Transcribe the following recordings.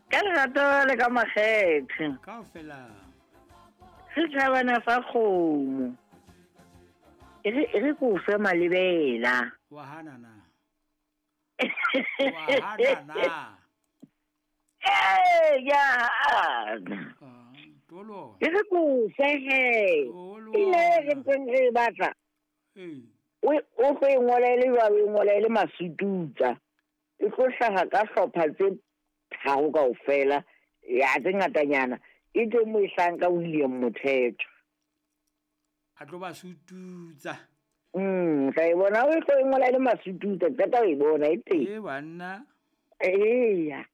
Ka lerato le ka makgethe. Kaofela. Setjhabana sa kgomo. E re e re ko fe malebela. Wa hana na? Wa hana na? Ee, ke a hana. Ah, tolo. E re ko fe he. Tolo. Pina e re ntseng re e batla. Ee. O o tlo e ngola e le jwalo, e ngola e le masututsa. E tlo hlaha ka hlopha tse tharo kaofela, ya tse ngatanyana. E teng mo e hlahang ka William Mothetho. A tlo ba sututsa. Tla e bona o tlo e ngola e le masututsa, qeta ho e bona e teng. E banna. Eya.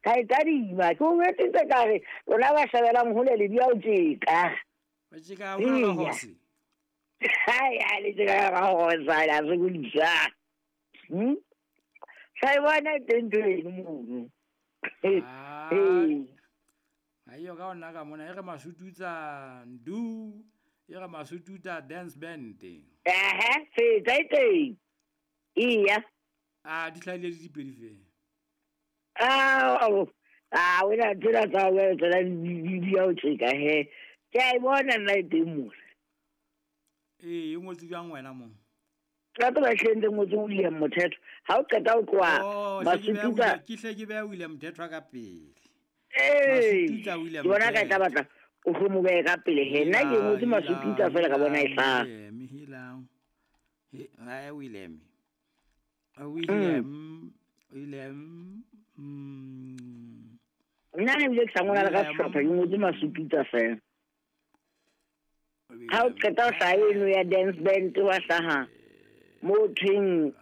Ka e tadima, ke o jwetsitse ka re lona ba shabelang hole le di ya ho tjeka. Ba tjeka haholo ka Eya. horse. Hai, ha le tjeka ka horse, la sokodisa. Tla e bona e teng ntho eno mono. Ah. Ee. Ha eyo ka ona ka mona e re masututsa ndu, e re masututsa dance band. Ehe, fetsa e teng. Eya. Ah, di hlahile di dipedi fela. Ah, ah, wena tsena tsa hao tsena di ya ho tjeka he. Ke a e bona nna e teng mona. Ee, e ngotswe jwang wena mo? Ka tseba hle ntse ngotswe William Mothetho. Ha o qeta ho tloha Oh, hle ke beha Masututsa. William, ke hle ke beha William Mothetho ka pele. Ee. Masututsa William Ke bona ka e tla Mothetho. batla o tlo mo behe ka pele he. Nna ke ngotswe Masututsa fela ka bona e hlaha. William, helang. He, ha William. William, William. Nna ne ebile ke sa ngola le ka William. sehlopha, ke ngotswe Masututsa fela. Ha o qeta ho hlaha eno ya dance band wa hlaha mo thweng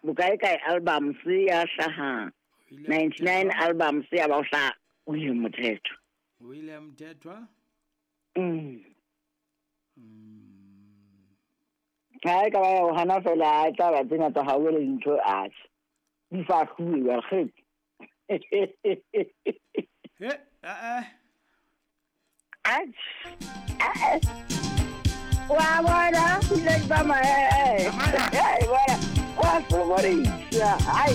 bokae kae albums ya hlaha 99 albums ya ba o hlaha William Mothetho. William Mthethwa. Ha e ka ba ya ho hana fela, ha e tla ba tsena tsa hao le dintho atjhe. Di fahluwe jwale, kgetse. He, a. Atjhe. A. Wa bona, ile ba ma eh. Bona. Wa sokodisa. Hai.